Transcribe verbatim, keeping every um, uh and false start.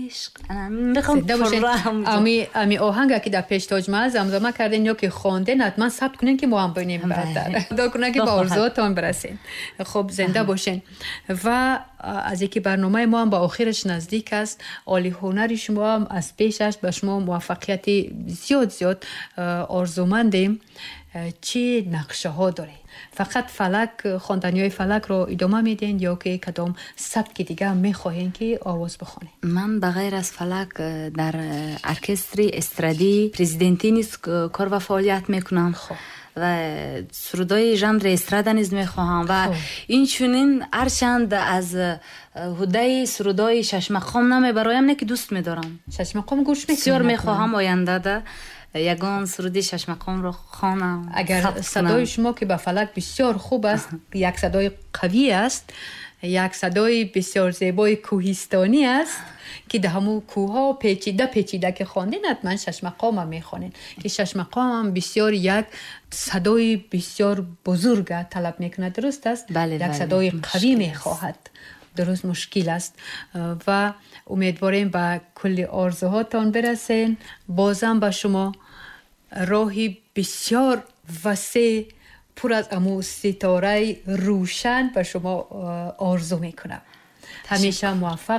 Ишқ. Ами ами оҳанга, ки дар пеш Тоҷмаҳал замзама карден ё ки хонден, ҳатман сабт кунен, ки мо ҳам бинем. Баъдтар худо кунад, ки ба орзуотон бирасен. Хуб, зинда бошен. Ва аз яке барномаи мо ҳам ба охираш наздик аст. Оли ҳунари шумо ҳам аз пеш аст. Ба шумо муваффақияти зиёд зиёд орзумандем. Чӣ нақшаҳо доред? Фақат фалак, хонданиҳои фалакро идома медиҳед ё ки кадом сабки дига мехоҳем, ки овоз бихонед? Ман ба ғайр аз фалак дар оркестри эстрадии президентӣ низ кор ва фаъолият мекунам ва сурудҳои жанри эстрада низ мехоҳам. Ва инчунин, ҳарчанд аз ҳудаи сурудҳои шашмақом намебароям, не ки дӯст медорам. Шашмақом гӯш мекунед? Бисёр мехоҳам ояндада ягон суруди шашмақомро хонам. Агар садои шумо, ки ба фалак бисёр хуб аст, як садои қавӣ аст, як садои бисёр зебои кӯҳистонӣ аст, ки дар ҳамун кӯҳҳо печида печида ки хондин, ҳатман шашмақомам мехонед, ки шашмақомам бисёр як садои бисёр бузурга талаб мекунад, дуруст аст? Бале. Як садои қавӣ мехоҳад, дуруст, мушкил аст. Ва умедворем, ба кулли орзуҳотон бирасен. Бозам ба шумо роҳи бисёр васеъ, пур аз аму ситораи рӯшан ба шумо орзу мекунам. Ҳамеша муваффақ.